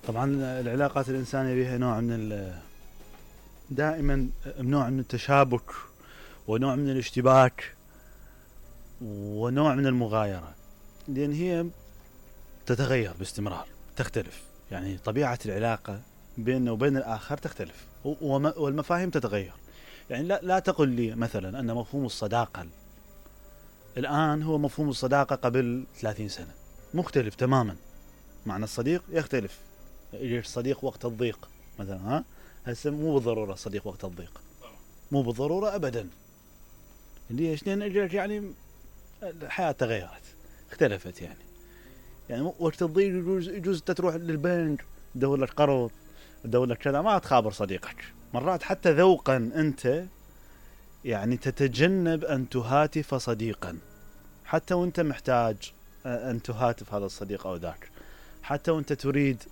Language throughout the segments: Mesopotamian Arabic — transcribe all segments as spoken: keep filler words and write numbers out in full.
طبعا العلاقات الإنسانية بها نوع من ال دائما نوع من التشابك ونوع من الاشتباك ونوع من المغايرة، لأن هي تتغير باستمرار، تختلف. يعني طبيعة العلاقة بيننا وبين الآخر تختلف، والمفاهيم تتغير. يعني لا, لا تقل لي مثلا أن مفهوم الصداقة الآن هو مفهوم الصداقة قبل ثلاثين سنة، مختلف تماما. معنى الصديق يختلف. يجي الصديق وقت الضيق مثلا، ها هسه مو بالضرورة صديق وقت الضيق، مو بالضرورة أبدا. ليش؟ لأن يعني الحياة تغيرت، اختلفت. يعني يعني وقت الضيق يجوز يجوز تروح للبنك تدور لك قرض، تدور لك كذا، ما تخابر صديقك. مرات حتى ذوقا أنت يعني تتجنب أن تهاتف صديقا، حتى وأنت محتاج أن تهاتف هذا الصديق أو ذاك، حتى وأنت تريد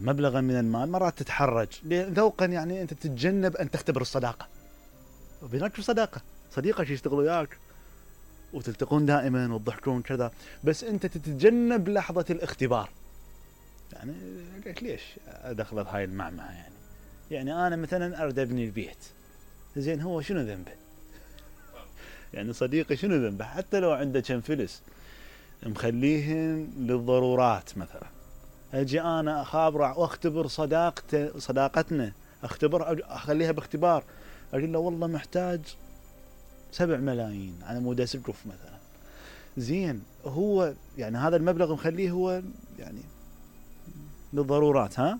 مبلغا من المال مرات تتحرج ذوقا. يعني أنت تتجنب أن تختبر الصداقة، وبينك صداقة صديقك يشتغل وياك وتلتقون دائما وتضحكون كذا، بس أنت تتجنب لحظة الاختبار. يعني ليش أدخل هاي المعمعة؟ يعني يعني أنا مثلا أريد أبني البيت، زين هو شنو ذنبه؟ يعني صديقي شنو ذنبه؟ حتى لو عنده كم فلس مخليهن للضرورات مثلا، أجي أنا أخابر وأختبر صداقته صداقتنا، أختبر أخليها باختبار، أقول له والله محتاج سبع ملايين على مود أسقف مثلا. زين هو يعني هذا المبلغ مخليه هو يعني للضرورات، ها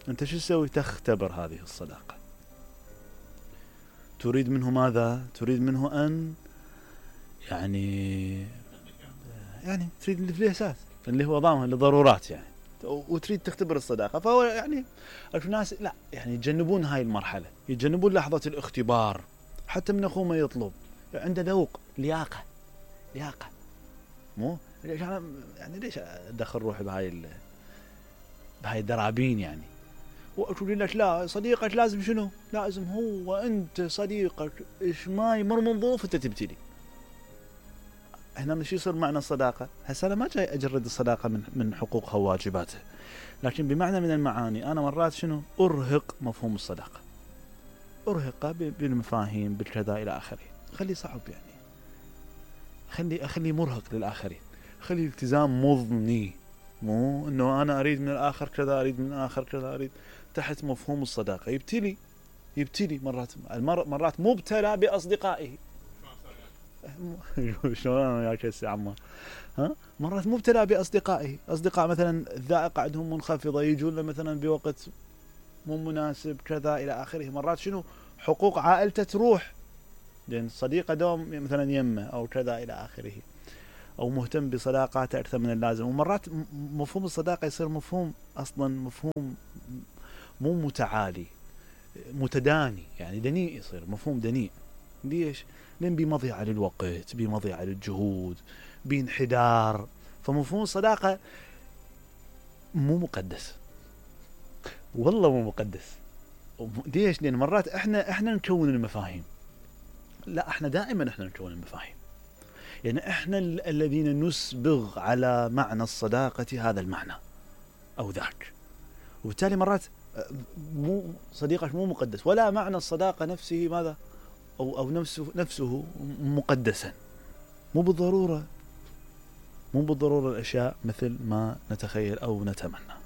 أنت شو تسوي؟ تختبر هذه الصداقة. تريد منه ماذا؟ تريد منه أن يعني يعني تريد الفلوسات اللي هو ضامن للضرورات يعني، وتريد تختبر الصداقة. فهو يعني الناس لا يعني يتجنبون هاي المرحلة، يتجنبون لحظة الاختبار. حتى من أخوه ما يطلب عنده ذوق، لياقة لياقة مو ليش أنا يعني ليش أدخل روحي بهاي ال بهاي الدرابين يعني. وأقول لك لا صديقك لازم شنو؟ لازم هو أنت صديقك إيش ما يمر من ظروف أنت تبتلي. هنا مش يصير معنى الصداقة. هسه أنا ما جاي أجرد الصداقة من من حقوقها وواجباتها، لكن بمعنى من المعاني أنا مرات شنو أرهق مفهوم الصداقة، أرهقه بالمفاهيم بالكذا إلى آخره. خلي صعب يعني، خلي أخلي مرهق للآخرين، خلي التزام مضني، مو إنه أنا أريد من الآخر كذا، أريد من الآخر كذا، أريد تحت مفهوم الصداقة. يبتلي يبتلي مرات مرات مبتلى بأصدقائه. شلون أنا وياك هسه عمار؟ ها مرات مبتلى بأصدقائه، أصدقاء مثلا الذائقة عندهم منخفضة، يجون له مثلا بوقت مو مناسب كذا إلى آخره. مرات شنو حقوق عائلته تروح، لأن صديقه دوم مثلا يمه أو كذا إلى آخره، أو مهتم بصداقاته أكثر من اللازم. ومرات مفهوم الصداقة يصير مفهوم أصلا مفهوم مو متعالي، متداني، يعني دنيء، يصير مفهوم دنيء. ليش؟ لأن بمضيعة للوقت، بمضيعة للجهود، بانحدار. فمفهوم الصداقة مو مقدس، والله مو مقدس. ليش؟ لأن مرات إحنا إحنا نكون المفاهيم. لا إحنا دائما إحنا نكون المفاهيم، يعني إحنا الذين نسبغ على معنى الصداقة هذا المعنى أو ذاك. وبالتالي مرات مو صديقك مو مقدس، ولا معنى الصداقة نفسه ماذا أو أو نفسه نفسه مقدسا. مو بالضرورة مو بالضرورة الأشياء مثل ما نتخيل أو نتمنى.